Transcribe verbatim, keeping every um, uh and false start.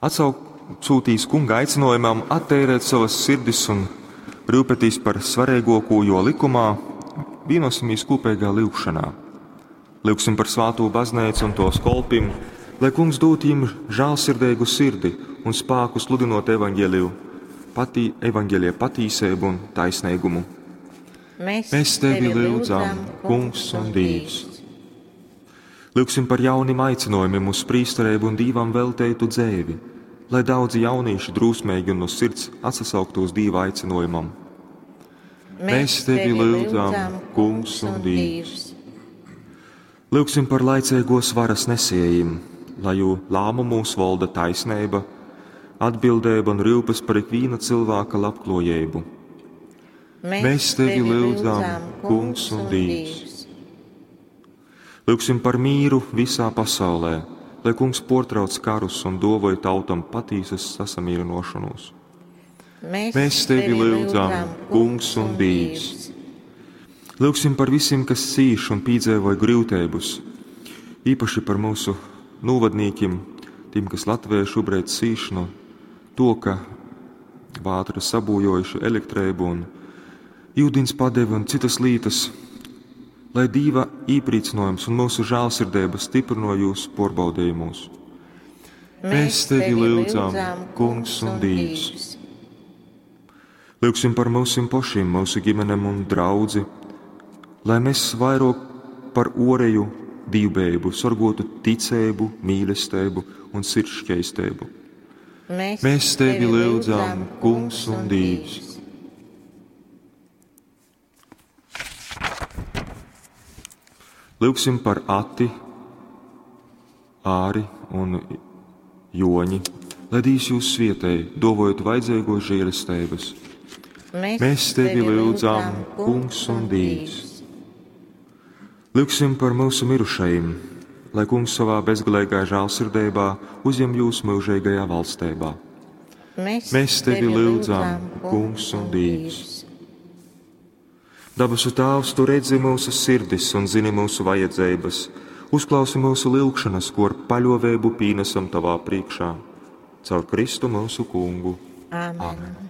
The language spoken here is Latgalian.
Atsaucūtīs Kunga aicinojumam atteirēt sovas sirdis un rūpētīs par svareiguokū juo likumā, vienosimies kūpeigā lyugšanā. Lyugsim par svātū bazneicu un tos kolpim, lai Kungs dūtu jim žālsirdeigu sirdi un spāku sludinot evaņģeliju, patī, evaņģelija patīseibu un taisneigumu. Mēs, Mēs tevi lyudzam, Kungs un Dievs. Lyugsim par jaunim aicinojumiem uz prīstereibu un Dīvam velteitu dzeivi, lai daudzi jaunieši drūsmeigi un no sirds atsasauktu uz Dīva aicinojumam. Mēs tevi lyudzam, Kungs un Dievs. Lyugsim par laicīgos varas nesējiem, lai jū lēmumos valda taisnība, atbildība un rūpes par ikviena cilvēka labklājību. Mēs tevi lyudzam, Kungs un Dievs. Lyugsim par mīru visā pasaulē, lai Kungs portrauc karus un dovoja tautam patīsas sasamierinošanos. Mēs, Mēs tevi lyudzam, Kungs un Dievs. Lyugsim par visiem, kas cīš un pīdzēvoja grūtības, īpaši par mūsu novadnīkiem, tiem, kas Latvijā šobrīd cīš no to, ka vātra sabūjojuši elektrību un ūdens padevi un citas lītas, lai Dīva īprīcinojums un mūsu žēlsirdība stiprino jūs porbaudījumos. Mēs tevi lyudzam, Kungs un Dievs. Lyugsim par mūsim pašiem, mūsu ģimenēm un draudzi, lai mēs vairāk par oreju dīvbēbu sorgotu ticību, mīlestību un sirdsšķeistību. Mēs, Mēs tevi lyudzam, Kungs un Dievs. Lyugsim par Ati, Āri un Joņi, lai Dievs jūs svietēj, dovojot vajadzīgo žēlestības. Mēs, Mēs tevi lyudzam, Kungs un Dievs. Lyugsim par mūsu mirušajiem, lai Kungs savā bezgalīgā žēlsirdībā uzņem jūs mūžīgajā valstībā. Mēs, Mēs tevi lyudzam, Kungs un Dievs. Dabasu Tēvs, tu redzi mūsu sirdis un zini mūsu vajadzības. Uzklausi mūsu lūgšanas, ko ar paļovēbu pīnesam tavā priekšā. Caur Kristu mūsu Kungu. Āmen. Āmen.